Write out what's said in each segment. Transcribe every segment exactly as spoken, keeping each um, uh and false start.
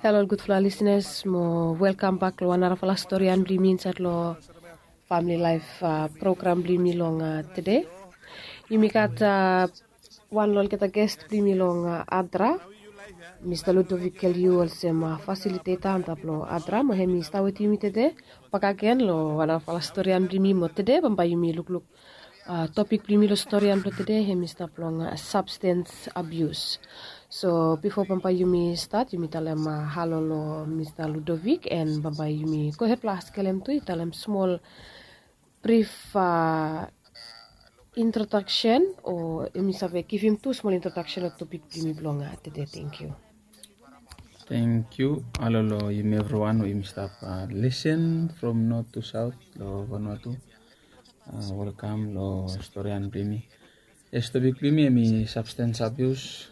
Halo ol gudfala lisenas, mo welkam bak long wan narafala storian blong yumi insaed long famili laef program blong yumi long tede. Yumi gat wan long olgeta ges blong yumi long Adra, Mista Ludovic Keliu, olsem fasiliteta antap long Adra, mo hem i stap wetem yumi tede. Bakagen long wan narafala storian blong yumi, mo tede bambae yumi lukluk topik blong yumi long storian blong tede, hem i stap long substance abuse. So bifo bambae yumi stat, yumi talem halo long Mista Ludovic, and bambae yumi gohed blong askelem tu i talem smol brif introdaksen, o yumi save givim tu smol introdaksen long topik blong yumi blong tede. Tangkiu. Tangkiu. Halo long yumi evriwan we yumi stap lisen from not tu saot long Vanuatu. Welkam long storian blong yumi. Yes, topik blong yumi hem i substance abuse.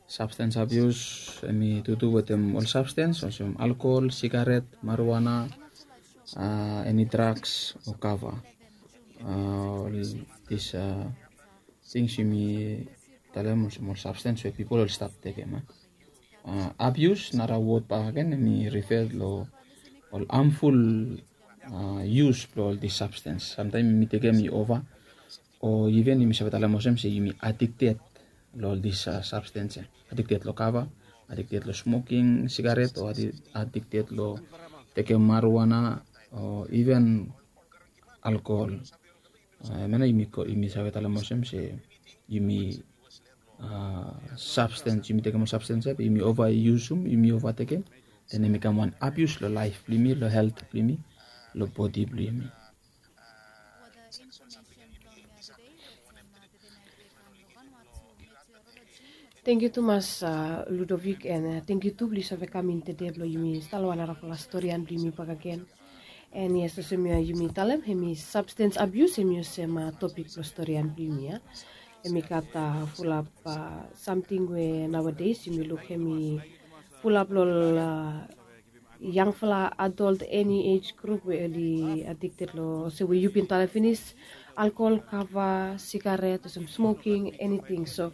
Substance abuse hem i tutu wetem ol substance olsem alkohol, sigaret, marijuana, eni drugs o kava. Ol dis tings yumi talem olsem ol substance we pipol oli stap tekem. Abuse, nara wod bakagen, hem i refer long ol harmful use blong ol dis substance. Samtaem yumi tekem i ova, o iven yumi save talem olsem se yumi addicted long ol dis substance ya. Addicted long kava, addicted long smoking sigaret, o addicted long tekem marijuana, o iven alkohol. Hemia nao yumi save talem olsem se yumi substance, yumi tekem ol substance ya, yumi ova yusum, yumi ova tekem, then hem i kam wan abuse long laef blong yumi, long helt blong yumi, long bodi blong yumi. Tangkiu tumas Ludovic, and tangkiu tu blong yu save kam in tede blong yumi stat long wan narafala storian blong yumi bakagen. And yes, olsem yumi talem, hem i substance abuse, hem i olsem topik blong storian blong yumi ya. Hem i gat fulap samting we naoades yumi luk hem i fulap long ol yangfala adult, eni age group we oli addicted long olsem we yu bin talem finis, alkohol, kava, sigaret, olsem smoking, eniting. So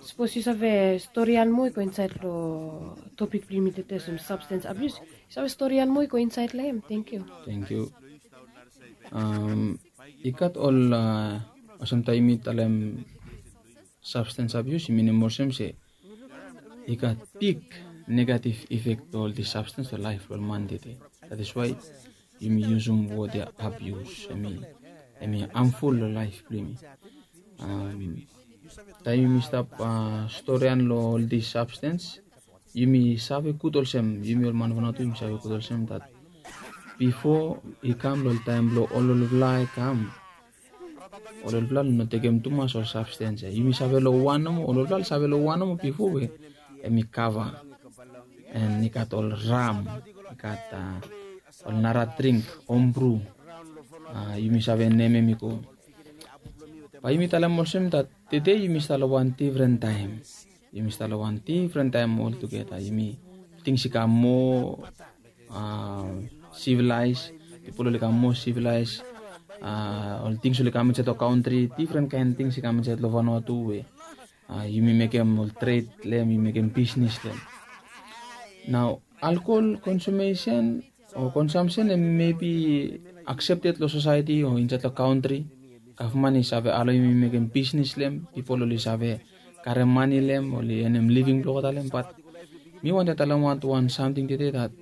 sapos yu save storian moa i go insaed long topik blong yumi tede, olsem substance abuse, yu save storian moa i go insaed long hem? Tangkiu. Tangkiu. I gat ol, olsem taem yumi talem substance abuse, i minim olsem se i gat big negative effect blong ol dis substance long laef blong ol man tede. That is why yumi yusum wod ya abuse, hem i harmful long laef blong yumi. Taem yumi stap storian long ol dis substance, yumi save gud olsem, yumi ol man Vanuatu yumi save gud olsem that bifo i kam long ol taem blong ololfala i kam, ololfala oli no tekem tumas ol substance ya. Yumi save long wan nomo, ololfala oli save long wan nomo bifo we hem i kava, and i gat ol ram, i gat ol nara dring, homebrew, yumi save nemem i go. Bae yumi talem olsem that tede yumi stap long wan difren taem. Yumi stap long wan difren taem oltugeta. Yumi, tings i kam moa sivelaes, pipol oli kam moa sivelaes, ol tings oli kam insaed long kantri, difren kaen tings i kam insaed long Vanuatu we yumi mekem ol tred long hem, yumi mekem bisnis long hem. Nao alkohol konsumesen o konsamsen hem mebi aksepted long sosaeti o insaed long kantri. Gavman i save alao yumi mekem bisnis long hem, pipol oli save karem mane long hem, oli enem living blong olgeta long hem. Bat mi wantem talem wan, wan samting tede that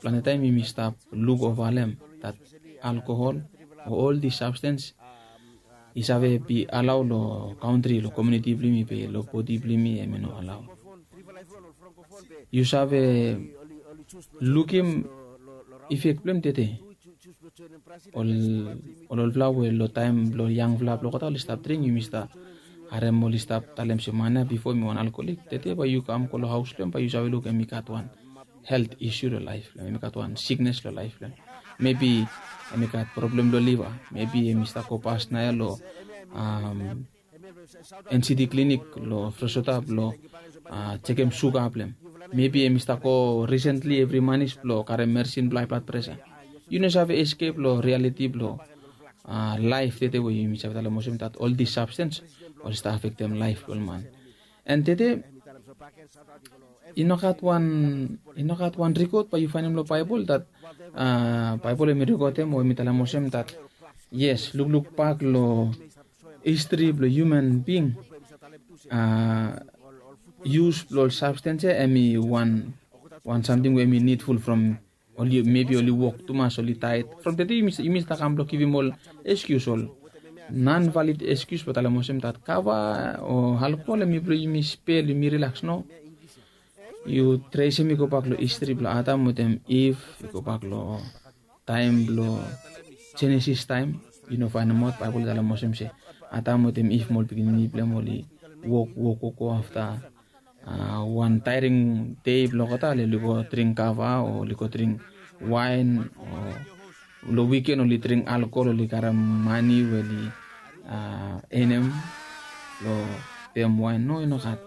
plante taem yumi stap luk ova long hem, that alkohol o ol dis substance i save be alao long kantri, long komuniti blong yumi, be long bodi blong yumi hem i no alao. Yu save lukim efek blong hem tede? Ol, ol olfala we long taem blong yangfala blong olgeta oli stap dring, yumi stap harem oli stap talem se man ya bifo hem i wan alkoholik. Tede bae yu kam go long haos blong hem, bae yu save luk hem i gat wan helt isu long laef blong hem, hem i gat wan siknes long laef blong hem. Mebi hem i gat problem long liva, mebi hem i stap go pas naoia long NCD klinik long Fresota blong jekem suga blong hem. Mebi hem i stap go risentli evri manis blong karem medisin blong hae blad presa. Yu no save eskep long rialiti blong laef tede we yumi save talem olsem that ol dis sabstens oli stap afektem laef blong ol man. And tede I no gat wan i no gat wan rikot bae yu faenem long Baebol dat Baebol em i rikotem o em i talem olsem dat yes, lukluk bak long histri blong human bing, yus blong ol sabstens ya em i wan wan samting we em i nidful from oli mebi oli wok tumas oli taet from tete yumi stap kam blong givim ol eskius ol non valid eskius blong talem olsem dat kava o alkol em i blong yumi spel yumi rilaks no. Yu tresim i go bak long histri blong Adam wetem Iv i go bak long taem blong Jenesis taem yu no faenemaot Baebol i talem olsem se Adam wetem Iv mo ol pikinini blong em oli wok wok wok go afta wan taering dei blong olgeta oli go dring kava o oli go dring waen o long wiken oli dring alkol oli karem mani we oli enem long pem waen no i no gat.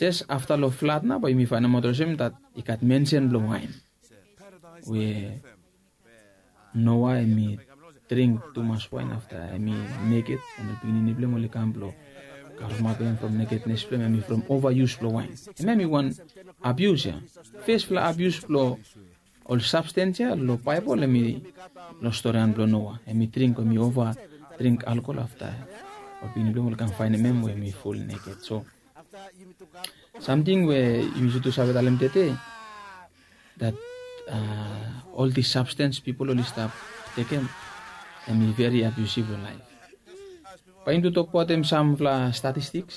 Jes afta long flat nao bae yumi faenemaot olsem dat i gat mensen blong waen we Noa em i dring tumas waen afta em i neked an ol pikinini blong em oli kam blong kavremapim from nekednes blong em em i from ovayus blong waen. Em em i wan abius ya. Fespela abius blong ol sabstens ya long Baebol em i long storian blong Noa em i dring em i ova dring alkol afta ol pikinini blong em oli kam faenem em we em i ful neked. So samting we yumi tu save talem tete dat ol dis sabstens pipol oli stap tekem em i veri abiusiv long laef. Bae yumi tu tokbaot em samfala statistiks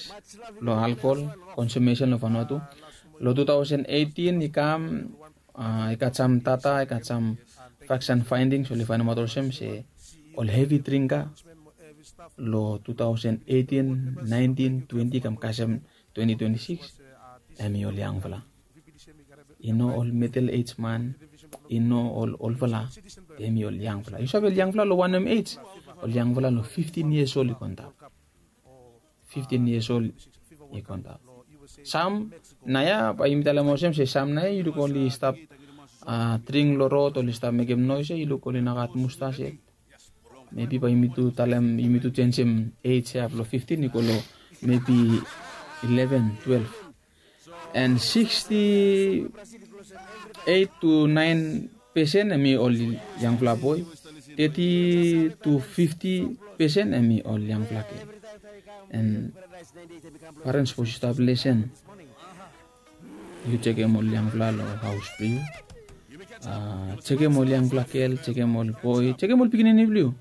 long alkol konsumesen long Vanuatu. Long tu taosen eitin i kam i gat sam data i gat sam faks an faendings oli faenemaot olsem se ol hevi dringka long tu taosen eitin, naentin, twenti kam kasem twenti twenti sikis em i ol yangfala. I no ol midel ej man, i no ol olfala, em i ol yangfala. Yu save ol yangfala long wanem ej? Ol yangfala long fiftin yias ol i go antap. Fiftin yias ol i go antap. Sam naoia bae yumi talem olsem se sam naoia yu luk oli stap dring long rod oli stap mekem noes ya yu luk oli no gat mustas yet. Mebi bae yumi tu talem yumi tu jenisim ej ya blong fiftin i go long mebi ileven, twelef. An siksti eit tu naen pesen em i ol yangfala boe. Teti tu fifti pesen em i ol yangfala gel. An parens sapos yu stap lesen yu jekem ol yangfala long haos blong yu. Jekem ol yangfala gel, jekem ol boe, jekem ol pikinini blong yu.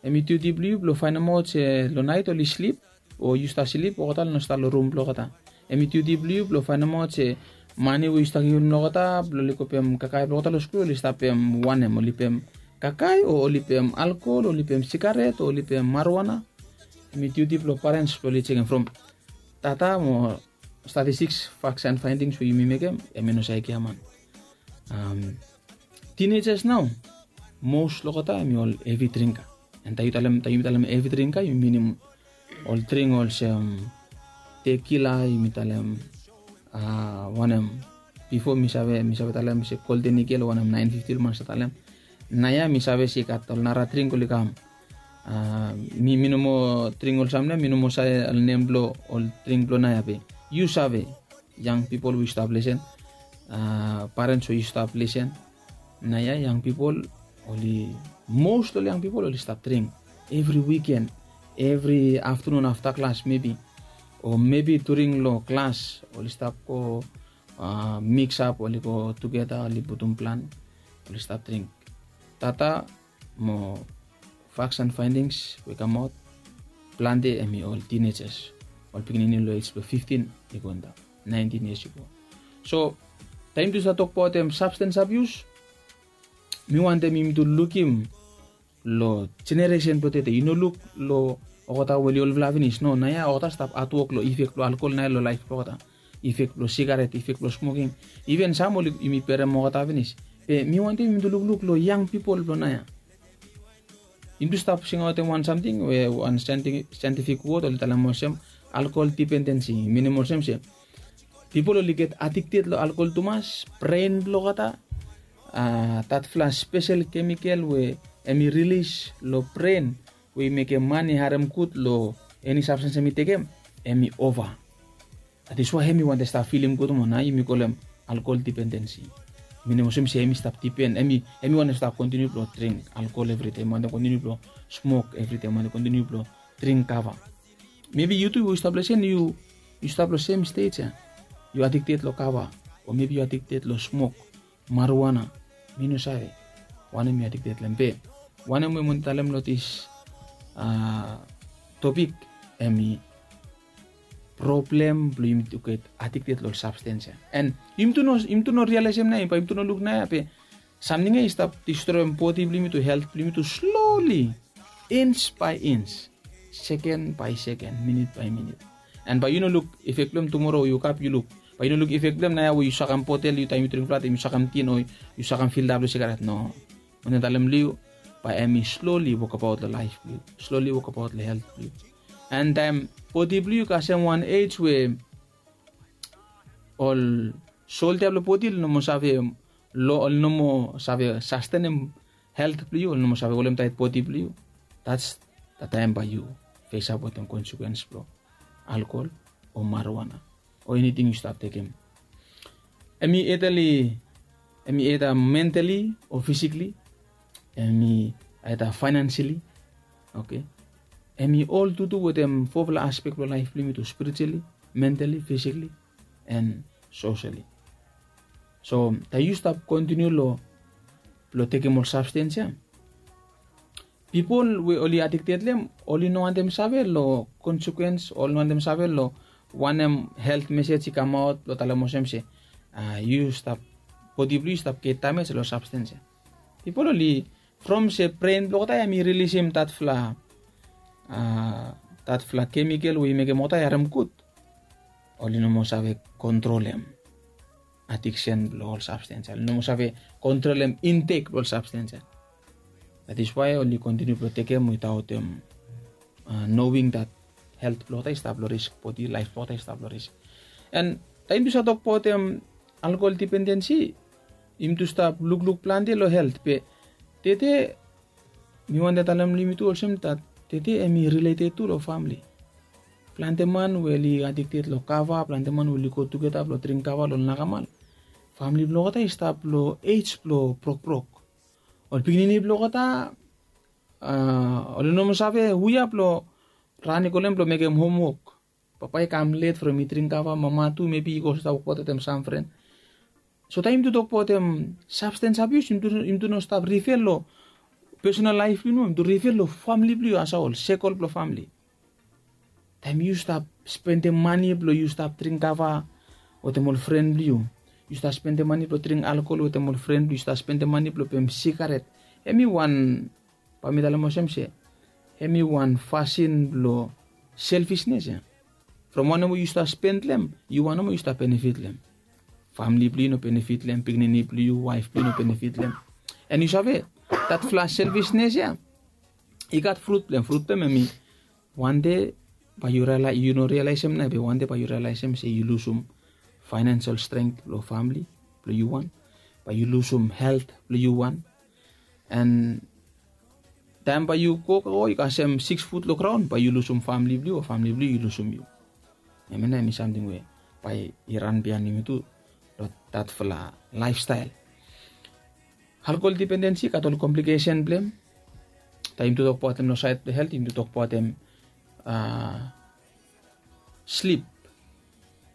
Em i diuti blong yu blong faenemaot se long naet oli slip o yu stap slip olgeta oli no stap long rum blong olgeta. Em i diuti blong yu blong faenemaot se mane we yu stap givim long olgeta blong oli go pem kakae blong olgeta long skul oli stap pem wanem, oli pem kakae o oli pem alkol o oli pem sigaret o oli pem marijuana. Em i diuti blong parens blong oli jekem from data mo statistiks, faks an faendings we yumi mekem em i no save giaman. Tinejas nao mos long olgeta em i ol hevi dringka. An taem yumi talem hevi dringka yumi minim ol dring olsem tekila, yumi talem wanem, bifo mi save mi save talem se golden igel o wanem naen fifti ol man stap talem. Naoia mi save se i gat ol nara dring oli kam. Mi mi no moa dring olsem naoia mi no moa save ol nem blong ol dring blong naoia be yu save, yang pipol we yu stap lesen, parens we yu stap lesen. Naoia yang pipol oli mos long ol yang pipol oli stap dring evri wiken, evri aftanun afta klas mebi, o mebi during long klas oli stap go miksap oli go tugeta oli putum plan oli stap dring. Data mo faks an faendings we i kamaot, plante em i ol tinejas, ol pikinini long ej blong fiftin i go antap, naentin yias i go. So taem yumi tu save tokbaot em sabstens abius, mi wantem yumi tu lukim long jeneresen blong tete, yu no luk long olgeta we oli olfala finis no, naoia olgeta stap hatwok long ifek blong alkol naoia long laef blong olgeta, ifek blong sigaret, ifek blong smoking. Iven sam oli yumi berem olgeta finis. Be mi wantem yumi tu lukluk long yang pipol blong naoia. Yumi tu stap singaotem wan samting we wan saentifik wod oli talem olsem alkol dipendensi, minim olsem se pipol oli get adikted long alkol tumas, bren blong olgeta, datfala spesel kemikel we em i rilis long bren we i mekem man i harem gud long eni sabstens em i tekem, em i ova. That is why em i wantem stap filim gud mo nao yumi kolem alkohol dipendensi. Minim olsem se em i stap dipen, em i em i wantem stap kontiniu blong dring alkohol evri dei, em i wantem kontiniu blong smok evri dei, em i wantem kontiniu blong dring kava. Mebi yu tu yu stap long sem, yu yu stap long sem stej ya. Yu adikted long kava, o mebi yu adikted long smok marijuana. Mi no save wanem yu adikted long hem be wanem we mi wantem talem long dis topik, em i problem blong yumi tu get adikted long ol sabstens ya. An yumi tu no yumi tu no rialaesem nao ya, bae yumi tu no luk nao ya be samting ya i stap distroem bodi blong yumi tu, helt blong yumi tu sloli, ins bae ins, seken bae seken, minit bae minit. An bae yu no luk efek blong hem tumora we yu kap yu luk, bae yu no luk efek blong hem nao ya we yu sakem botel, yu taem yu dring flat, yu sakem tin o yu sakem filda blong sigaret. No. Wantem talem long yu, bae em i sloli wokabaot long laef blong yu, sloli wokabaot long helt blong yu. An taem bodi blong yu i kasem wan ej we ol soldia blong bodi oli no moa save, oli no moa save sastenem helt blong yu, oli no moa save holem taet bodi blong yu. That's the taem bae yu fesap wetem konsekuens blong alkohol o marijuana o eniting yu stap tekem. Em i either li em i either mentally o physically, em i either financially. Okay. Em i ol tutu wetem fofala aspek blong laef blong yumi tu, spiritually, mentally, physically, and socially. So taem yu stap kontiniu long blong tekem ol sabstens ya, pipol we oli adikted long hem oli no wantem save long konsekuens, oli no wantem save long wanem helt mesej i kamaot blong talem olsem se yu stap, bodi blong yu stap get damej long sabstens ya. Pipol oli from se bren blong olgeta ya em i rilisim datfala datfala kemikel we i mekem olgeta i harem gud, oli no moa save kontrolem adiksen blong ol sabstens ya, oli no moa save kontrolem intek blong ol sabstens ya. That is why oli kontiniu blong tekem witaotem noing dat helt blong olgeta i stap long risk, bodi laef blong olgeta i stap long risk. An taem yu save tokbaotem alkohol dipendensi, yumi tu stap lukluk plante long helt be tede mi wantem talem long yumi tu olsem dat tede em i rileted tu long famle. Plante man we oli adikted long kava, plante man we oli go tugeta blong dring kava long nakamal, famle blong olgeta i stap long ej blong brokbrok. Ol pikinini blong olgeta oli no moa save hu ya blong ran i go long hem blong mekem homwok. Papa i kam let from i dring kava, mama tu mebi i go stap wokbaot wetem sam fren. So taem yumi tu tokbaotem sabstens abius, yumi tu no stap rifel long pesonal laef blong yumi, yumi tu rifel long famle blong yu, asawol sekol blong famle. Taem yu stap spendem mane blong yu stap dring kava wetem ol fren blong yu, yu stap spendem mane blong dring alkohol wetem ol fren blong yu, yu stap spendem mane blong pem sigaret, em i wan, bae mi talem olsem se em i wan fasin blong selfisnes ya. From wanem we yu stap spend long hem, yu wanem we yu stap benefit long hem. Famle blong yu no benefit long hem, pikinini blong yu, waef blong yu no benefit long hem. An yu save, datfala selfisnes ya i gat frut blong hem. Frut blong hem em i wande bae yu no rialaesem nao be wande bae yu rialaesem se yu lusum faenensel strength blong famle blong yu wan, bae yu lusum helt blong yu wan. An taem bae yu go go yu kasem sikis fut long graon, bae yu lusum famle blong yu o famle blong yu i lusum yu. Hemia nao em i samting we bae i ran biaen yumi tu long datfala laefstael. Alkohol dipendensi i gat ol komplikesen blong hem. Taem yumi tu tokbaotem long saed blong helt, yumi tu tokbaotem slip.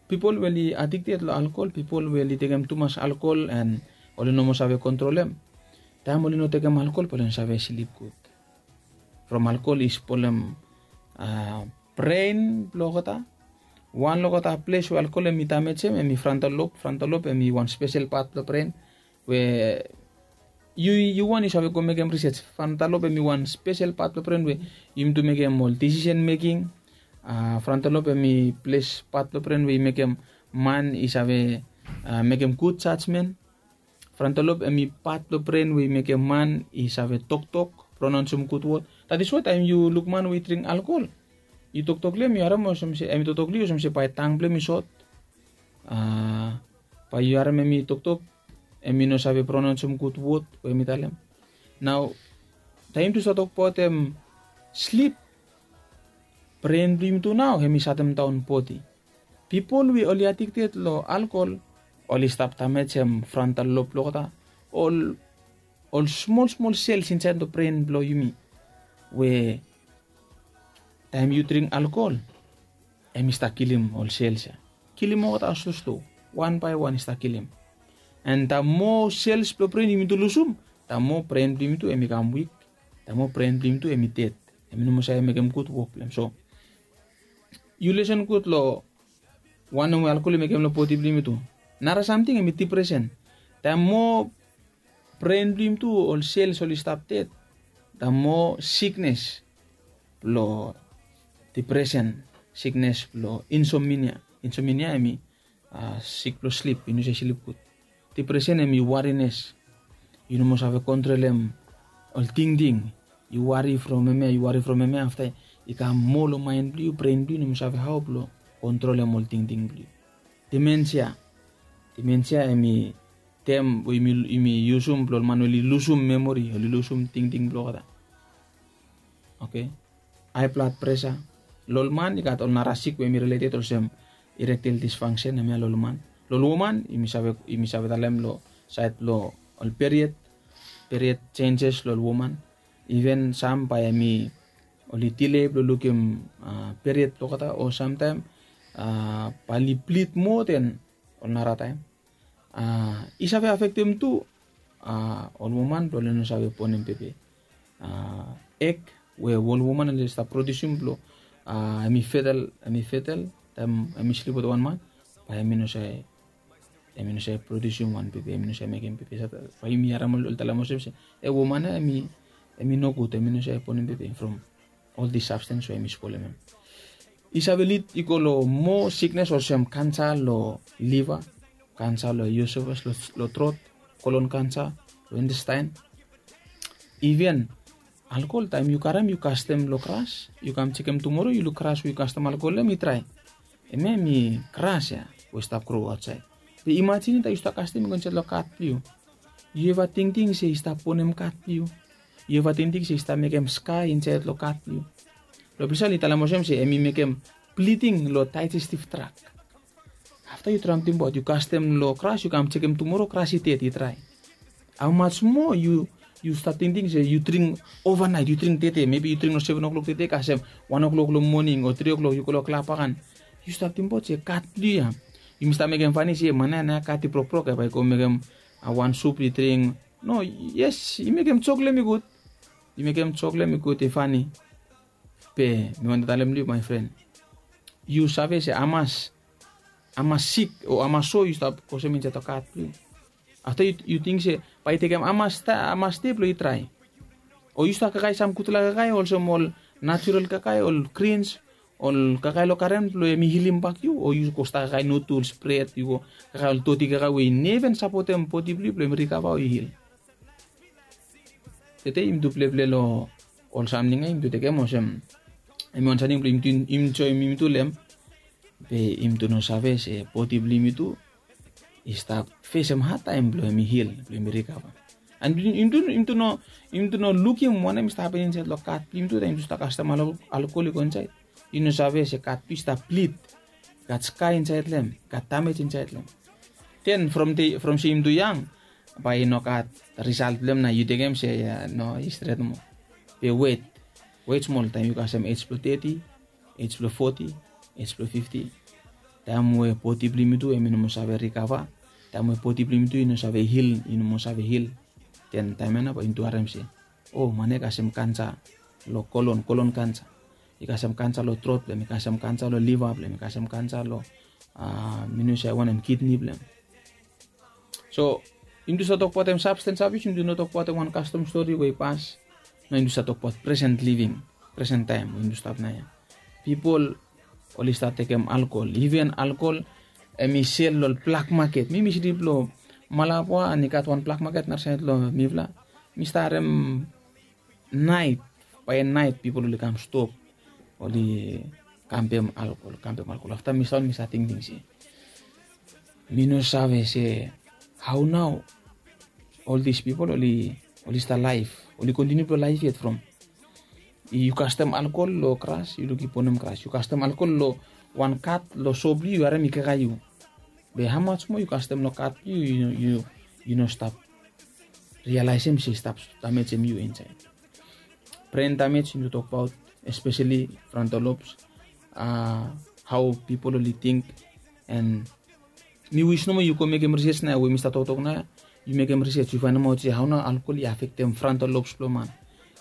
Pipol we oli adikted long alkohol, pipol we oli tekem tumas alkohol an oli no moa save kontrolem, taem oli no tekem alkohol bae oli no save slip gud. From alkohol i spolem bren blong olgeta. Wan long olgeta ples we alkohol em i damejem em i frontal lobe. Frontal lobe em i wan spesel pat blong bren we yu yu wan yu save go mekem risej. Frontal lobe em i wan spesel pat blong bren we yumi tu mekem ol disisen meking. Frontal lobe em i ples pat blong bren we i mekem man i save mekem gud jajmen. Frontal lobe em i pat blong bren we i mekem man i save toktok, pronaonsem gud wod. That is why taem yu luk man we i dring alkohol, yu toktok long hem yu harem olsem se em i toktok long yu olsem se bae tang blong hem i sot. Bae yu harem em i toktok, em i no save pronaonsem gud wod we em i talem. Nao taem yumi tu stap tokbaotem slip, bren blong yumi tu nao em i satemdaon bodi. Pipol we oli adikted long alkol oli stap damejem frontal lob blong olgeta, ol ol smol smol sels insaed long bren blong yumi, we taem yu dring alkol, em i stap kilim ol sels ya. Kilim olgeta slo slo, wan bae wan i stap kilim. And da moa sels blong bren yumi tu lusum, da moa bren blong yumi tu em i kam wik, da moa bren blong yumi tu em i ded. Em i no moa save mekem gud wok blong em. So yu lisen gud long wanem we alkol i mekem long bodi blong yumi tu. Nara samting em i dipresen. Da moa bren blong yumi tu ol sels oli stap ded, da moa siknes blong dipresen, siknes blong insomnia. Insomnia em i sik blong slip, yu no save slip gud. Dipresen em i warines. Yu no moa save kontrolem ol tingting. Yu wari from hemia, yu wari from hemia, afta i kam moa long maen blong yu, bren blong yu no moa save hao blong kontrolem ol tingting blong yu. Dimensia. Dimensia em i tem we yumi yusum blong ol man we oli lusum memori, oli lusum tingting blong olgeta. Oke. Hae blad presa. Long ol man i gat ol nara sik we em i rileted olsem erectile dysfunction, hemia long ol man. Long ol woman yumi save talem long saed blong ol period, period senses long ol woman. Iven sam bae hem i oli dile blong lukim period blong olgeta, o samtaem bae oli blid moa den ol nara taem. I save afektem tu ol woman blong oli no save bonem pepe. Eg we ol woman oli stap produsim blong hem i fetel, hem i fetel taem hem i slip wetem wan man, bae hem i no save produsim wan pepe, hem i no save mekem pepe. Bae yumi harem oli talem olsem se e woman ya hem i nogud, hem i no save bonem pepe from ol dis sabstens we hem i spolem hem. I save lid i go long moa siknes olsem kansa long liva, kansa long iosofas, long trot, kolon kansa, long intestain. Iven alkol taem yu karem yu kastem long gras, yu kam jekem tumoro yu luk gras we yu kastem alkol long hem i drae. Hemia hem i gras ya we i stap gro aotsaed. Be imajinem taem yu stap kastem i go insaed long kat blong yu. Yu eva tingting se i stap bonem kat blong yu? Yu eva tingting se i stap mekem skae insaed long kat blong yu? Long ples ya oli talem olsem se hem i mekem bliding long daejestiv drak. Afta yu traem tingbaot yu kastem long gras, yu kam jekem tumoro gras i ded, i drae. Haomas moa yu stap tingting se yu dring ovanaet, yu dring tede, mebi yu dring long seven o'clock tede kasem one o'clock long moning o three o'clock yu go long klab agan. Yu stap tingbaot se kat blong yu ya. Yumi stap mekem fani se man ya naoia kat i brokbrok ya, bae i go mekem wan sup i dring. No, yes, i mekem jok long hem i gud. I mekem jok long hem i gud, i fani. Be mi wantem talem long yu, my friend, yu save se hamas, hamas sik o hamas so yu stap kosem insaed long kat blong yu? Afta yu ting se bae i tekem hamas dei blong i drae? O yu stap kakae sam gudfala kakae olsem ol natural kakae, ol grins, ol kakae long garen blong hem i hilim bak yu? O yu go stap kakae nudels, bred, yu go kakae ol doti kakae we i neven sapotem bodi blong yu blong hem rikava o i hil? Tede yumi tu pleple long ol samting ya, yumi tu tekem olsem hem i wan samting blong yumi tu enjoem yumi tu long hem. Be yumi tu no save se bodi blong yumi tu i stap fesem hadtaem blong hem i hil, blong hem i rikava. And yumi tu no lukim wanem i stap hapen insaed long kat blong yumi tu taem yumi tu stap kastem alkol i go insaed. Yu no save se kat blong yu i stap blid, i gat skae insaed long hem, i gat damej insaed long hem. Den from se yumi tu yang, bae i no gat risalt blong hem, na yu tekem se no, i stret nomo. Be wet, wet smol, taem yu kasem ej blong teti, ej blong foti, ej blong fifti, taem we bodi blong yumi tu hem i no moa save rikava, taem we bodi blong yumi tu i no save hil, i no moa save hil. Den taem ya nao bae yumi tu harem se o man ya i kasem kansa long kolon, kolon kansa. I kasem kansa long trot blong hem, i kasem kansa long liva blong hem, i kasem kansa long, mi no save wanem, kidni blong hem. So yumi tu stap tokbaotem sabstens abus, yumi tu no tokbaotem wan kastom stori we i pas. Nao yumi tu stap tokbaot presen living, presen taem we yumi tu stap naoia. Pipol oli stap tekem alkol, iven alkol hem i sel long ol blak maket. Mi mi slip long Malabwa and i gat wan blak maket narasaed long mifala. Mi stap harem naet, bae naet pipol oli kam stop, oli kampem alkol, kampem alkol. Afta mi stap, mi stap tingting se mi no save se hao nao ol dis pipol oli stap laef, oli kontiniu blong laef yet from yu kastem alkol long gras, yu luk i bonem gras. Yu kastem alkol long wan kat long so blong yu yu harem i kaikai yu. Be hamas moa yu kastem long kat blong yu yu no stap rialaesem se i stap damejem yu insaed. Bren damej yumi tu tokbaot, espeseli frontal lobes, hao pipol oli ting. En mi wis nomo yu go mekem risej nao we mi stap toktok nao ya. Yu mekem risej yu faenemaot se hao nao alkol i afektem frontal lobes blong man.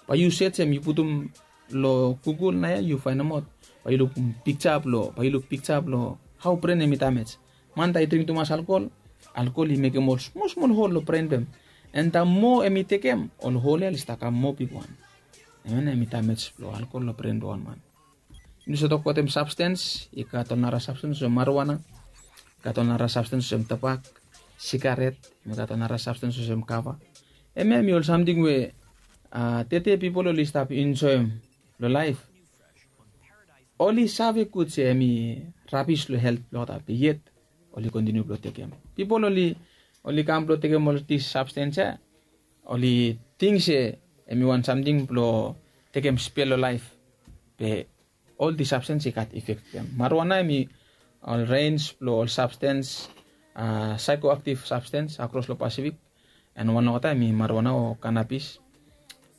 Bae yu sejem yu putum long gugul nao ya yu faenemaot, bae yu lukim pikja blong bae yu luk pikja blong hao bren hem i damej. Man taem i dring tumas alkol, alkol i mekem ol smol smol hol long bren blong hem. En taem moa hem i tekem, ol hol ya oli stap kam moa bigwan. Hem ya nao hem i damej blong alkol long bren blong wan man. Yumi save tokbaot hem sabstens, i gat ol nara sabstens olsem marijuana, i gat ol nara sabstens olsem tobak, sigaret, hem i gat ol nara sabstens olsem kava. Hem ya hem i ol samting we tede pipol oli stap enjoem long laef. Oli save gud se hem i rabis long helt blong olgeta, be yet oli kontiniu blong tekem. Pipol oli oli kam blong tekem ol dis sabstens ya, oli ting se hem i wan samting blong tekem spel long laef. Be ol dis sabstens i gat ifek blong hem. Marijuana hem i ol rens blong ol sabstens, saekoaktiv sabstens akros long Pasifik. En wan long olgeta hem i marijuana o kanabis.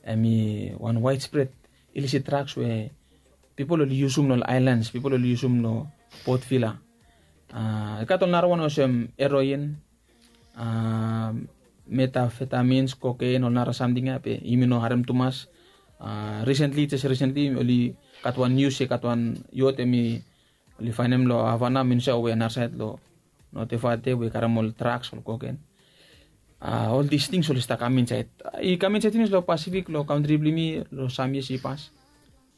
Hem i wan waedspred ilisit draks we pipol oli yusum long ol aelans, pipol oli yusum long Port Vila. I gat ol narawan olsem heroin, metafetamins, koken, ol nara samting ya be yumi no harem tumas. Risentli jes risentli oli gat wan nius se gat wan yot hem i oli faenem long Havana, Minsa we narasaed long Note Vate we i karem ol draks, ol koken. Ol dis tings oli stap kam insaed, i kam insaed finis long Pasifik, long kantri blong yumi long sam yias i pas.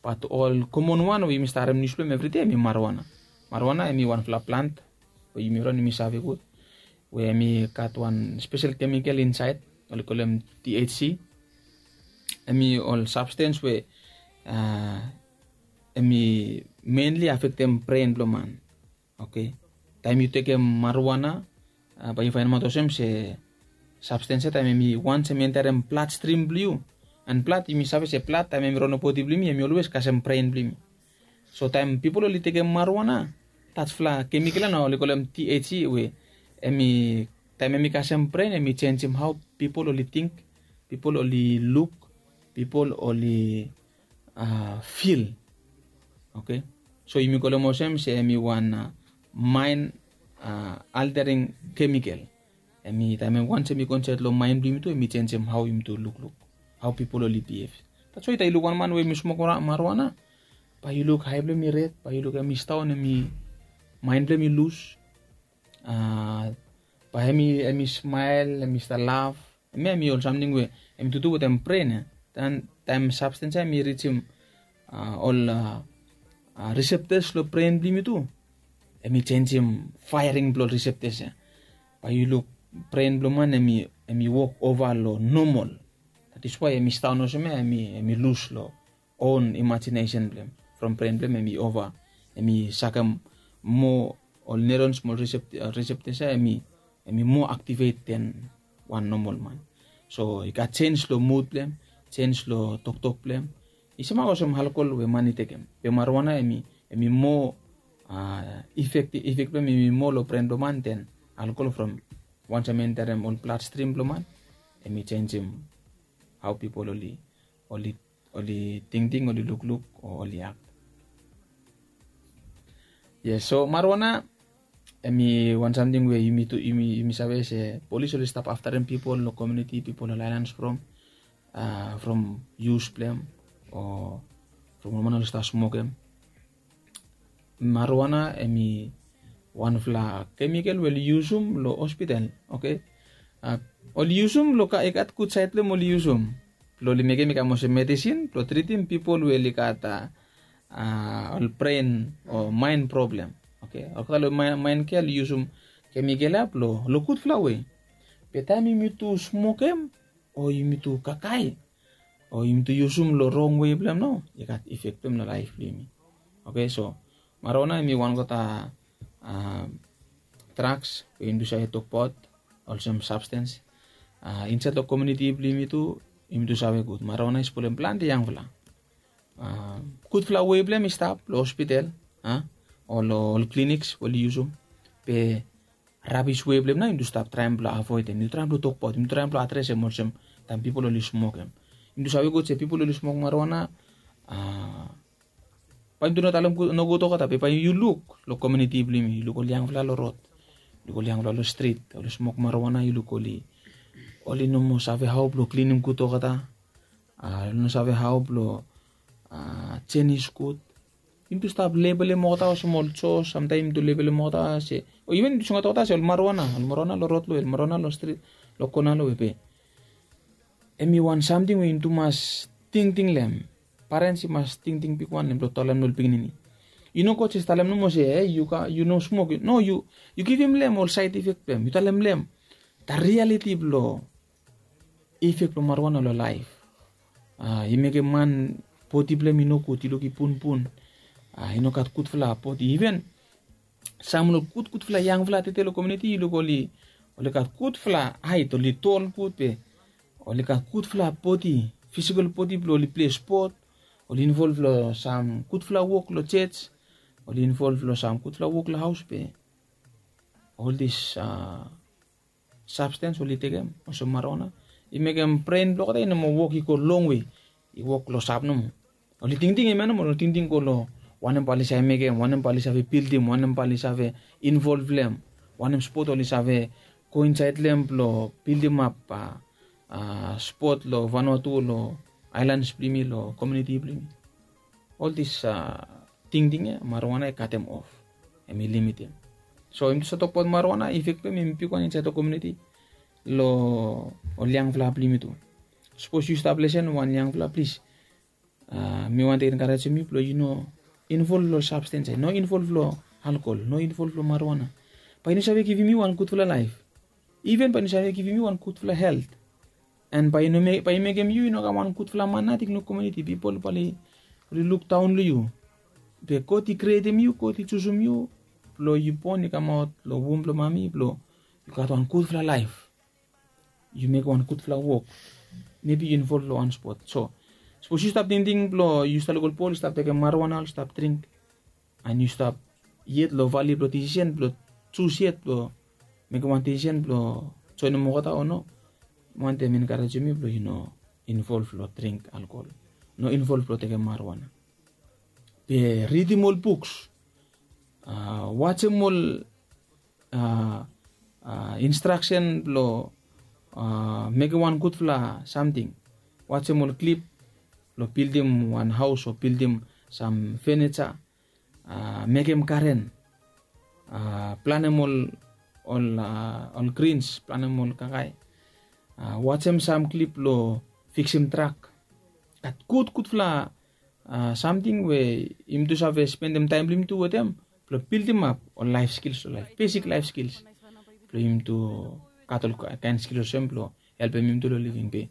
Bat ol komon wan we yumi stap harem nius blong hem evridei hem i marijuana. Marijuana hem i wanfala plant we yumi ran yumi save gud, we hem i gat wan spesel kemikel insaed oli kolem THC. Hem i ol sabstens we hem i menli afektem bren blong man. Oke, taem yu tekem marijuana, bae yu faenemaot olsem se sabstens ya taem hem i wans hem i enterem bladstrim blong yu. En blad yumi save se blad taem hem i ron long bodi blong yumi hem i olwes kasem bren blong yumi. So taem pipol oli tekem marijuana, tasfala kemikel ya nao oli kolem THC we hem i taem hem i kasem bren hem i jenjem hao pipol oli ting, pipol oli luk, pipol oli fil. Oke, so yumi kolem olsem se hem i wan maen altering kemikel. Hem i taem hem wans hem i go insaed long maen blong yumi tu hem i jenjem hao yumi tu lukluk, hao pipol oli bihev. That's why taem yu luk wan man we hem i smok marijuana, bae yu luk ae blong hem i red, bae yu luk hem i staon, hem i maen blong hem i lus. Bae hem i smael, hem i stap laf. Hem ya hem i ol samting we hem i tutu wetem bren ya. Taem sabstens ya hem i rijim ol riseptas long bren blong yumi tu, hem i jenjem faering blong ol riseptas ya. Bae yu luk bren blong man hem i wok ova long nomol. That is why hem i staon olsem ya, hem i lus long own imagination blong hem. From bren blong hem hem i ova, hem i sakem moa ol neurons mo ol receptors ya, hem i moa activate than wan normal man. So i gat change long mood blong hem, change long toktok blong hem. I semak olsem alkol we man i tekem. Be marijuana hem i moa effect blong hem i moa long bren blong man than alkol. From wansem enterem ol bloodstream blong man, hem i changem how people oli oli tingting, oli lukluk o oli act. Yes, so marijuana hem i wan samting we yumi tu yumi save se polis oli stap aftarem pipol long komuniti, pipol long aelan from yus blong hem o from ol man oli stap smokem. Marijuana hem i wanfala kemikel we oli yusum long hospital. Oke, oli yusum long i gat gud saed blong hem oli yusum blong oli mekem i kam olsem medisin blong tritim pipol we oli gat ol bren o maen problem. Oke, olgeta long maen kea oli yusum kemikel ya blong long gudfala we. Be taem yumi tu smokem o yumi tu kakae o yumi tu yusum long rong wei blong hem nao, i gat efek blong hem long laef blong yumi. Oke, so marijuana hem i wan olgeta draks we yumi tu save tokbaot olsem sabstens insaed long komuniti blong yumi tu. Yumi tu save gud marijuana i spolem plante yangfala. Gudfala wei blong hem i stap long hospital a ol ol clinics we oli yusum. Be rabis we blong hem nao yumi tu stap traem blong avoedem, yumi tu traem blong tokbaot, yumi tu traem blong adresem olsem taem pipol oli smokem. Yumi tu save gud se pipol oli smok marijuana, a, bae yumi tu no talem nogud olgeta, be bae yu luk long komiuniti blong yumi, yu luk ol yangfala long rod, yu luk ol yangfala long strit, oli smok marijuana, yu luk oli oli no moa save hao blong klinim gud olgeta. A, oli no save hao blong a jenis gud. Yumi tu stap lebelem olgeta olsem ol jos, samtaem yumi tu lebelem olgeta se, o iven yumi tu singaot olgeta se ol marijuana, ol marijuana long rod long we, ol marijuana long strit, long kona long we. Be hem i wan samting we yumi tu mas tingting long hem. Parens i mas tingting bigwan long hem blong talem long ol pikinini. I no gud jes talem nomo se, e, yu no smok, no, yu givim long hem ol saed ifek blong hem, yu talem long hem da rialiti blong ifek blong marijuana long laef. A, i mekem man bodi blong hem i nogud, i luk i bunbun. A, i no gat gudfala bodi. Iven sam long gudgudfala yangfala tede long komiuniti, yu luk oli oli gat gudfala haet, oli tol gud, be oli gat gudfala bodi, fisikol bodi blong oli pilei spot, oli involv long sam gudfala wok long jos, oli involv long sam gudfala wok long haos, be ol dis a sabstens oli tekem olsem marijuana, i mekem bren blong olgeta i no moa wok, i go longwe, i wok klosap nomo. Oli tingting hemia nomo, oli tingting go long wanem bae oli save mekem, wanem bae oli save bildim, wanem bae oli save involv long hem, wanem spot oli save go insaed long hem blong bildimap a spot long Vanuatu, long aelans blong yumi, long komiuniti blong yumi. Ol dis a tingting ya marijuana i katem of, hem i limitim. So yumi tu save tokbaot marijuana, ifek blong hem i bigwan insaed long komiuniti, long ol yangfala blong yumi tu. Sapos yu stap lesen wan yangfala, plis, a mi wantem enkarejem yu blong yu no involv long ol sabstens ya, no involv long alkol, no involv long marijuana. Bae i no save givim yu wan gudfala laef. Iven bae i no save givim yu wan gudfala helt. An bae i mekem yu i no kam wan gudfala man nating long komiuniti. Pipol bae oli lukdaon long yu. Be God i krietem yu, God i jusum yu blong yu bon, i kamaot long wom blong mami blong yu gat wan gudfala laef. Yu mekem wan gudfala wok. Mebi yu involv long wan spot. So sapos yu stap tingting blong yu stap luk ol bol i stap tekem marijuana, oli stap dring, an yu stap yet long vali blong disisen blong jus yet blong mekem wan disisen blong joenem olgeta o no, mi wantem enkarejem yu blong yu no involv long dring alkol, no involv long tekem marijuana. Be ridim ol buks, a wajem ol a instraksen blong a mekem wan gudfala samting. Wajem ol klip blong bildim wan haos o bildim sam fenija, a mekem garen, a planem ol ol a ol grins, planem ol kakae. A wajem sam klip blong fiksim trak. Gat gudgudfala a samting we yumi tu save spendem taem blong yumi tu wetem blong bildimap ol laef skils long laef, besik laef skils blong yumi tu gat ol kaen skils olsem blong helpem yumi tu long living. Be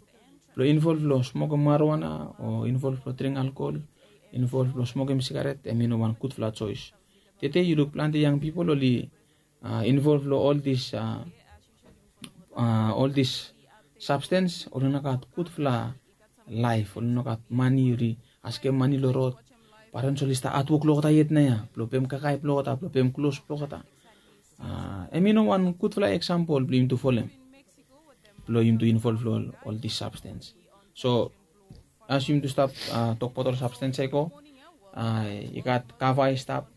blong involv long smokem marijuana o involv long dring alkol, involv long smokem sigaret, hem i no wan gudfala joes. Tede yu luk plante yang pipol oli a involv long ol dis a ol dis sabstens, oli no gat gudfala laef, oli no gat mane, oli askem mane long rod. Parens oli stap hatwok long olgeta yet nao ya blong pem kakae blong olgeta, blong pem klos blong olgeta. A hem i no wan gudfala eksampol blong yumi tu folem blong yumi tu involv long ol dis sabstens. So as yumi tu stap a tokbaot ol sabstens ya i go, a i gat kava i stap,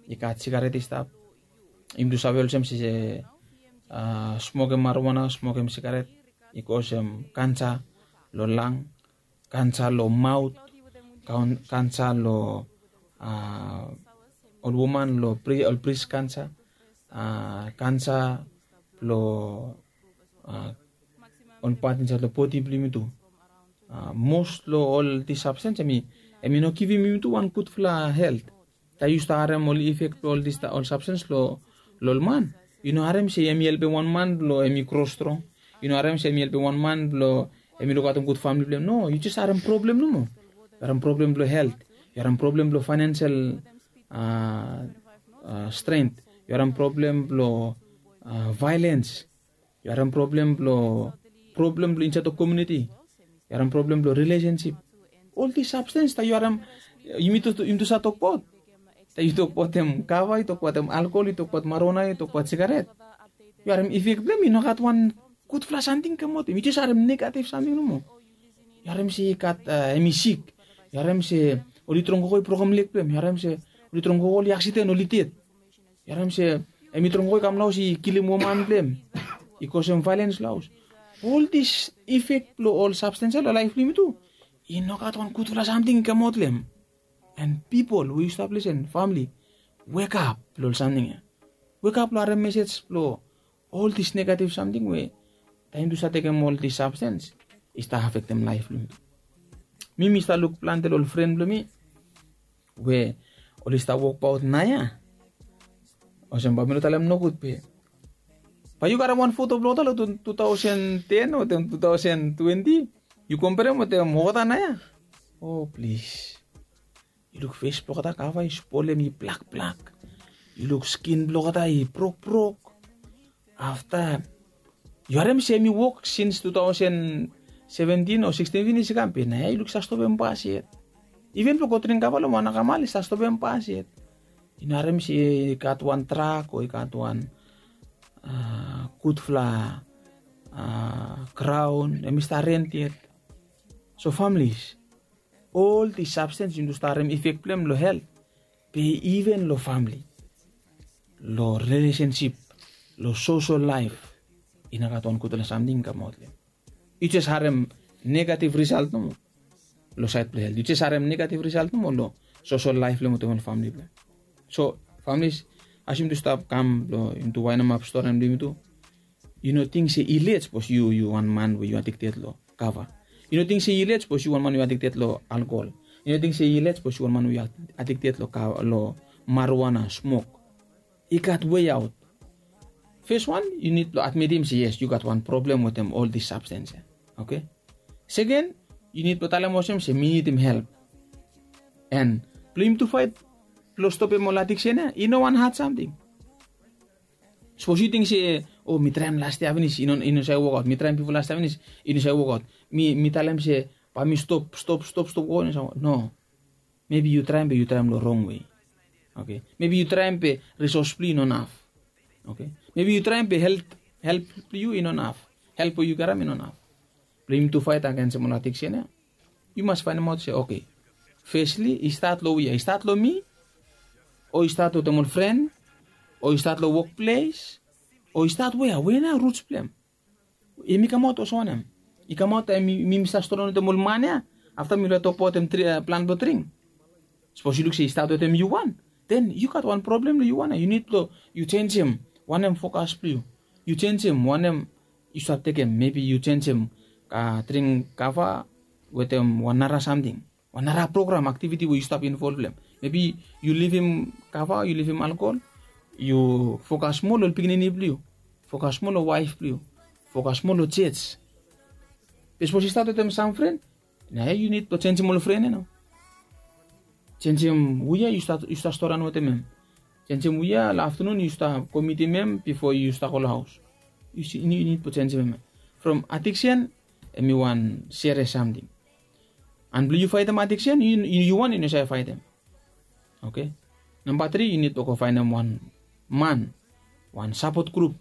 i gat sigaret i stap. Yumi tu save olsem se a smokem marijuana, smokem sigaret i go olsem kansa long lang, kansa long maot, kansa long a ol woman long ol bris kansa, a kansa blong a ol pat insaed long bodi blong yumi tu. A mos long ol dis sabstens hem i hem i no givim yumi tu wan gudfala helt. Taem yu stap harem ol ifek blong ol dis ol sabstens long ol man, yu no harem se hem i helpem wan man blong hem i gro strong. Yu no harem se hem i helpem wan man blong hem i lukaotem gud famili blong hem. No, yu jes harem problem nomo. Yu harem problem blong helt, yu harem problem blong faenensel a stren, yu harem problem blong a vaelens, yu harem problem blong problem blong insaed long komiuniti, yu harem problem blong rilesensip. Ol dis sabstens taem yu harem, yumi tu save tokbaot Yu tokbaot em kava, yu tokbaot em alkol, yu tokbaot maruana, yu tokbaot sigaret. Yu harem ifek blong em i no gat wan gudfala samting i kamaot long em. Yu jes harem negatif samting nomo. Yu harem se i gat em i sik. Yu harem se oli trongogo i brokem leg blong em. Yu harem se oli trongogo oli aksiden oli ded. Yu harem se em i trongogo i kam long haos i kilim woman blong em, i kosem vaelens long haos. Ol dis ifek blong ol sabstens ya long laef blong yumi tu, i no gat wan gudfala samting i kamaot long em. And pipol we yu stap lisen, famili, wekap long ol samting ya. Wekap long harem mesej blong ol dis negatif samting we taem yu stap tekem ol dis sabstens, i stap afektem laef blong yumi. Mi mi stap luk plante long ol fren blong mi we oli stap wokbaot naoia. Olsem bae mi no talem nogud be bae yu karem wan foto blong olgeta long tu taosen ten wetem tu taosen twenti, yu komperem wetem olgeta naoia. O plis, yu luk fes blong olgeta kava i spolem i blakblak. Yu luk skin blong olgeta i brokbrok. Afta yu harem se em i wok sins tu taosen seventin o siksten finis i kam be naoia yu luk i stap stopem bas yet. Iven blong go dring kava long wan akamal i stap stopem bas yet. Yu no harem se i gat wan trak o i gat wan gudfala graon em i stap rent yet. So familis, ol dis sabstens yumi tu stap harem ifek blong em long helt, be iven long famili, long rilesensip, long sosol laef, i no gat wan gudfala samting i kamaot long em. Yu jes harem negatif risalt nomo long saed blong helt. Yu jes harem negatif risalt nomo long sosol laef blong em wetem ol famili blong em. So familis, as yumi tu stap kam blong yumi tu waenap stori blong yumi tu, yu no ting se i let sapos yu yu wan man we yu adikted long kava. Yu no ting se i let sapos yu wan man we yu adikted long alkol. Yu no ting se i let sapos yu wan man we yu adikted long maruana smok. I gat wei aot. Fes wan, yu nid blong admitim se yes, yu gat wan problem wetem ol dis sabstens ya. Oke. Seken, yu nid blong talem olsem se mi nidim help. En blong yumi tu faet blong stopem ol adiksen ya i no wan had samting. Sapos yu ting se, o, mi traem lastia finis, i no save wokaot. Mi traem bifo lastia finis, i no save wokaot. Mi talem se bae mi stop stop stop stop wokaot, i no save wokaot. No. Mebi yu traem be yu traem long rong wei. Oke. Mebi yu traem be risos blong yu i no naf. Oke. Mebi yu traem be help help blong yu i no naf. Help we yu karem i no naf. Blong yumi tu faet agensem ol adiksen ya, yu mas faenemaot se oke, fesli i stat long wia? I stat long mi, o i stat wetem ol fren, o i stat long wokples, o i stat wea? Wea nao ruts blong em? Em i kamaot olsem wanem? I kamaot taem mi mi stap stori wetem ol man ya, afta mi laik tokbaot wetem plan blong dring. Sapos yu luk se i stat wetem yu wan, den yu gat wan problem long yu wan ya. Yu nid blong yu jenisim wanem fokas blong yu. Yu jenisim wanem yu stap tekem. Mebi yu jenisim dring kava wetem wan nara samting, wan nara program, aktiviti we yu stap involv long em. Mebi yu livim kava, yu livim alkol, yu fokas moa long ol pikinini blong yu, fokas moa long waef blong yu, fokas moa long jej. Be sapos i stat wetem sam fren, naoia yu nid blong jenisim ol fren ya nao. Jenisim wia yu stap storian wetem em. Jenisim wia long aftanun yu stap go mitim em bifo yu stap go long haos. Yu nid blong jenisim em ya. From adiksen, em i wan serias samting. And blong yu faetem adiksen, yu wan yu no save faetem. Oke. Namba tri, yu nid blong go faenem wan man, wan sapot grup,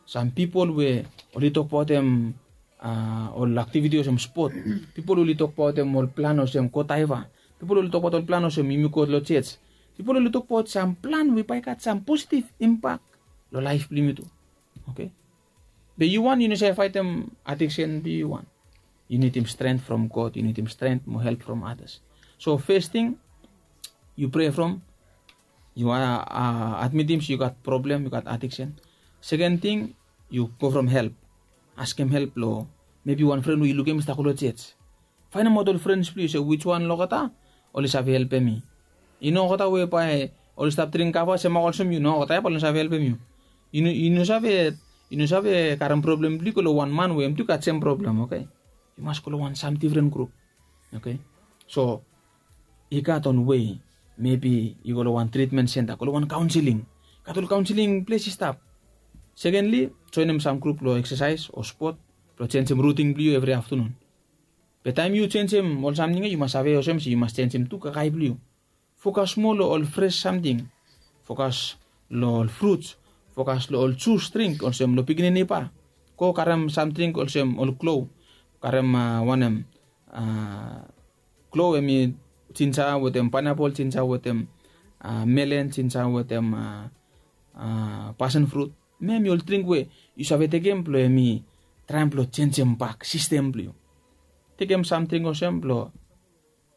sam pipol we oli tokbaotem ol aktiviti olsem spot. Pipol oli tokbaotem ol plan olsem go daeva. Pipol oli tokbaot ol plan olsem yumi go long jej. Pipol oli tokbaot sam plan we bae i gat sam positiv impak long laef blong yumi tu. Oke. Be yu wan yu no save faetem adiksen blong yu wan. Yu nidim stren from God, yu nidim stren mo help from adas. So fes ting, yu prea from, yu admitim se yu gat problem, yu gat adiksen. Seken ting, yu go from help. Askem help long mebi wan fren we yu lukim i stap go long jej. Faenemaot ol frens blong yu se wiswan long olgeta oli save helpem mi. I no olgeta we bae oli stap dring kava semak olsem yu, no olgeta ya bae oli no save helpem yu. Yu no save, yu no save karem problem blong yu go long wan man we hem tu i gat sem problem. Oke. Yu mas go long wan sam difren grup. Oke. So i gat ol wei, mebi yu go long wan tritmen senta, go long wan kaonseling. Gat ol kaonseling ples i stap. Sekenli, joenem sam grup long eksasaes o spot blong jenisim rutin blong yu evri aftanun. Be taem yu jenisim ol samting ya, yu mas save olsem se yu mas jenisim tu kakae blong yu. Fokas moa long ol fres samting. Fokas long ol fruts. Fokas long ol jus dring olsem long pikinini ba. Go karem samting olsem ol klo. Karem wanem, klo em i jinja wetem painapol, jinja wetem melen, jinja wetem pasen frut. Em em i ol dring we yu save tekem blong em i traem blong jenjem bak sistem blong yu. Tekem samting olsem blong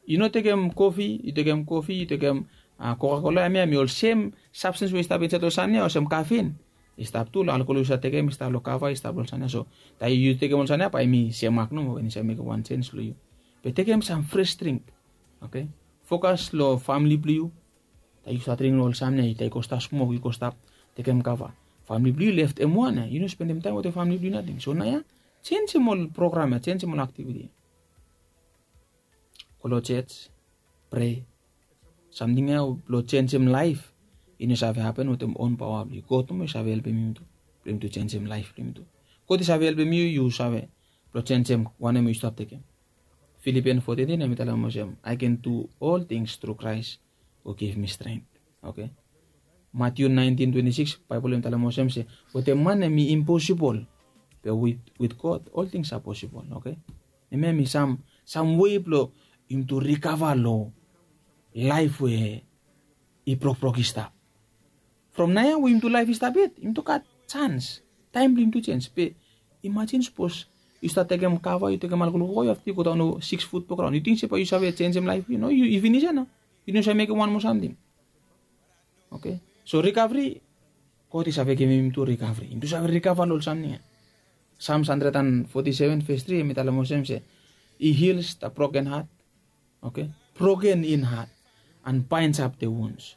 yu no tekem kofi, yu tekem kofi, yu tekem kokakola, em ya em i ol sem sabstens we i stap insaed long san ya olsem kafin. I stap tu long alkol yu save tekem i stap long kava, i stap long ol san ya. So taem yu tekem ol san ya bae em i semak nomo, we i save mekem wan jens long yu. Be tekem sam fres dring. Oke. Fokas long famili blong yu. Taem yu stap dring long ol san ya, taem yu go stap smok, yu go stap tekem kava, famili blong yu leftem wan ya, yu no spendem taem wetem famili blong yu nating. So naoia jenjem ol program ya, jenjem ol aktiviti. Go long jej, prea. Samting ya blong jenjem laef i no save hapen wetem on paoa blong yu. God nomo i save helpem yumi tu blong yumi tu jenjem laef blong yumi tu. God i save helpem yu, yu save blong jenjem wanem we yu stap tekem. Filipian fo tetin em i talem olsem, I can do all things through Christ who give me strength. Oke. Matiu naentin twenti sikis, Baebol em i talem olsem se wetem man em i imposibol, be with God ol tings are possible. Oke. Em ya em i sam wei blong yumi tu rikava long laef we i brokbrok i stap. From naoia we yumi tu laef i stap yet, yumi tu gat jans, taem blong yumi tu jens. Be imajin sapos yu stap tekem kava, yu tekem alkol gogo, yu afta yu go daon long sikis fut blong graon, yu ting se bae yu save jenjem laef blong yu? No, yu finis ya nao. Yu no save mekem wan moa samting. Oke. So rikavri, God i save givim yumi tu rikavri. Yumi tu save rikava long ol samting ya. Psalms handred and foti seven ves tri em i talem olsem se, He heals the broken heart. Oke. Broken in heart and binds up the wounds.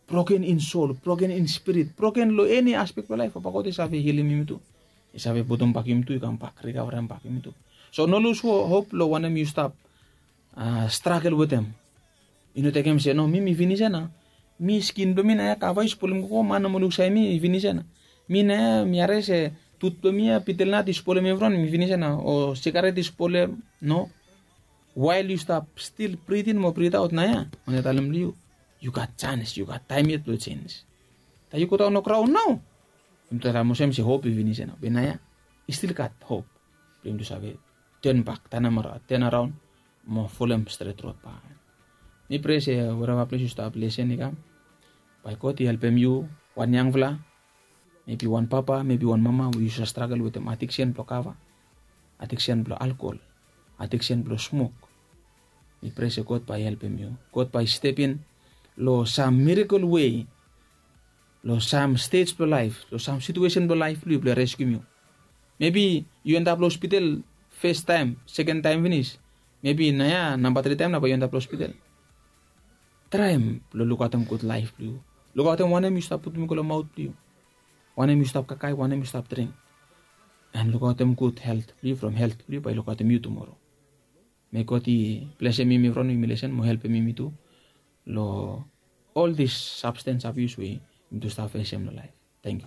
Broken in soul, broken in spirit, broken long eni aspek blong laef, Papa God i save hilim yumi tu. I save putum bak yumi tu i kam bak, rikavarem bak yumi tu. So no lus hop long wanem yu stap stragel wetem. I no tekem se no, mi mi finis ya nao. Mi skin blong mi naoia kava i spolem gogo, man nomo luk saed mi i finis ya nao. Mi naoia mi harim se tut blong mi ya, bitel nat i spolem evriwan, mi finis ya nao. O sigaret i spolem, no. Wael yu stap stil britin mo britaot naoia, wanem talem long yu, yu gat jans, yu gat taem yet blong jens. Taem yu go daon long graon nao, yumi talem olsem se hop i finis ya nao. Be naoia i stil gat hop blong yumi tu save tenbak, tenaraon mo folem stret rod bak. Mi prea se wereva ples yu stap lesen i kam, bae God i helpem yu, wan yangfala, mebi wan papa, mebi wan mama we yu save stragel wetem adiksen blong kava, adiksen blong alkol, adiksen blong smok. Mi prea se God bae i helpem yu. God bae i stepin long sam mirakel wei long sam stej blong laef, long sam situesen blong laef blong yu blong i reskium yu. Mebi yu endap long hospital fes taem, seken taem finis. Mebi naoia namba tri taem nao bae yu endap long hospital. Traem blong lukaotem gud laef blong yu. Lukaotem wanem yu stap putum i go long maot blong yu, wanem yu stap kakae, wanem yu stap dring. An lukaotem gud helt blong yu from helt blong yu bae i lukaotem yu tumoro. Mei God i blesem yumi from yumi lesen mo helpem yumi tu long ol dis sabstens abius we yumi tu stap fesem long laef. Tangkiu.